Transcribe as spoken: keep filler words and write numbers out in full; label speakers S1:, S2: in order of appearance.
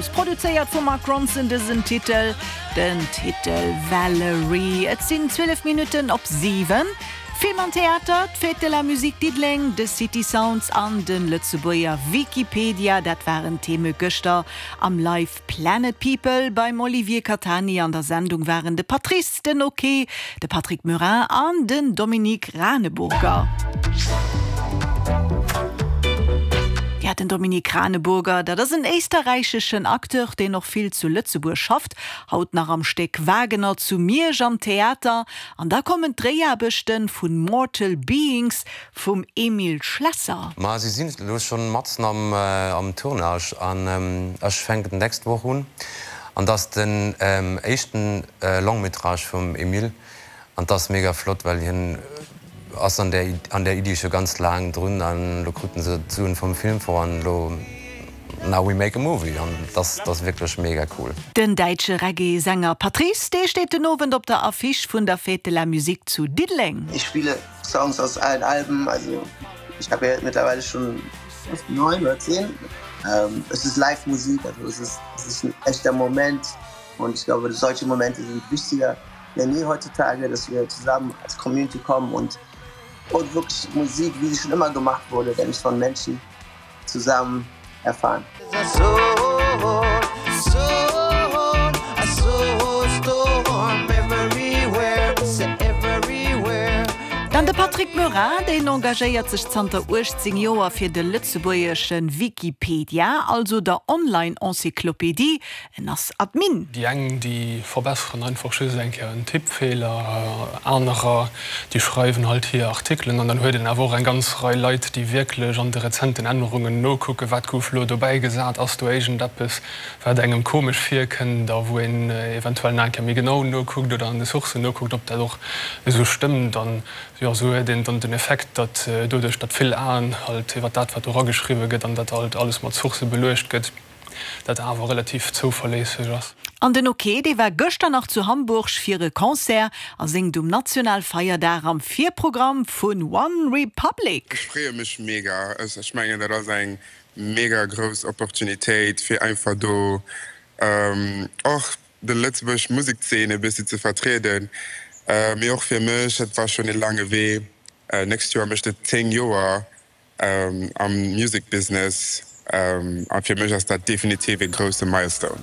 S1: Rose, produzéiert vum Mark Ronson dësen Titel, den Titel Valerie. Et sinn zwielef Minutten op siwen. Film an Theater, d'Fête de la Musique Diddeleng, de City Sounds an de Lëtzebuerger Wikipedia, dat waren Theme gëschter am Live Planet People beim Olivier Catani. An der Sendung waren de Patrice, den Oké, de Patrick Murin an den Dominique Raneburger. Ja, den Dominique Raneburger, dat ass en éisterräicheschen Acteur, deen och vill zu Lëtzebuerg schafft, haut nach am Stéck Wagener zu Miersch am Theater. An da kommen d'Dréiaarbechte vun Mortal Beings vum Emile Schlesser.
S2: Ma si sinn elo schonn matzen am am Tournage an ech fänken d'nächst Woch un an dat ass den éischten Long métrage vum Emile an dat ass mega flott, well hien ass an där an där Iddi scho ganz laang drun an elo kruten se d'Suen vum Filmfong an elo now we make a movie an dat ass wierklech mega cool.
S1: Den däitsche Reggae-Sänger Patrice, dee steet den Owend op der Affiche vun der Fête de la Musique zu Diddeleng.
S3: Ich spiele Songs aus allen Alben, also ich habe ja mittlerweile schon neun oder zehn. Ähm, es ist Live-Musik, also es ist, es ist ein echter Moment und ich glaube, solche Momente sind wichtiger denn je heutzutage, dass wir zusammen als Community kommen und und wirklich Musik, wie sie schon immer gemacht wurde, nämlich von Menschen zusammen erfahren.
S1: Dann de Patrick Murin, deen engagéiert sech zanter uechtzéng Joer fir de lëtzebuergesche Wikipedia, also der Online-Encyclopédie. En ass Admin.
S4: Déi eng, déi verbesseren einfach just eng Kéier en Tippfeeler, anerer, déi schreiwen halt hir Artikelen an dann huet een awer och eng ganz Rei Leit, déi wierklech an de rezenten Ännerungen nokucken, wat gouf elo dobäi gesat, ass do iergendeppes, wat engem komesch virkënnt a wou een eventuell nach eng Kéier méi genau nokuckt oder an de Sourcen nokuckt, ob dat och esou stëmmt. An jo, esou huet een dann den Effekt, datt doduerch, datt vill Aen halt iwwer dat, wat do erageschriwwe gëtt an dat halt alles mat Sourcë beluecht gëtt, dat awer relativ zouverléisseg ass.
S1: An den Ok, dee war gëschter nach zu Hamburg fir e Concert a séngt um Nationalfeierdag am Virprogramm vun One Republic.
S5: Ech freeë mech mega. Ech mengen dat ass eng mega grouss Opportunitéit fir einfach do och de lëtzebuergesch Musekzeen e bëssi ze vertrieden. Mee och fir mech, et war schonn e laange Wee. Nächst Joer mécht et zéng Joer am Music Business a fir mech ass dat definitiv e grousse Milestone.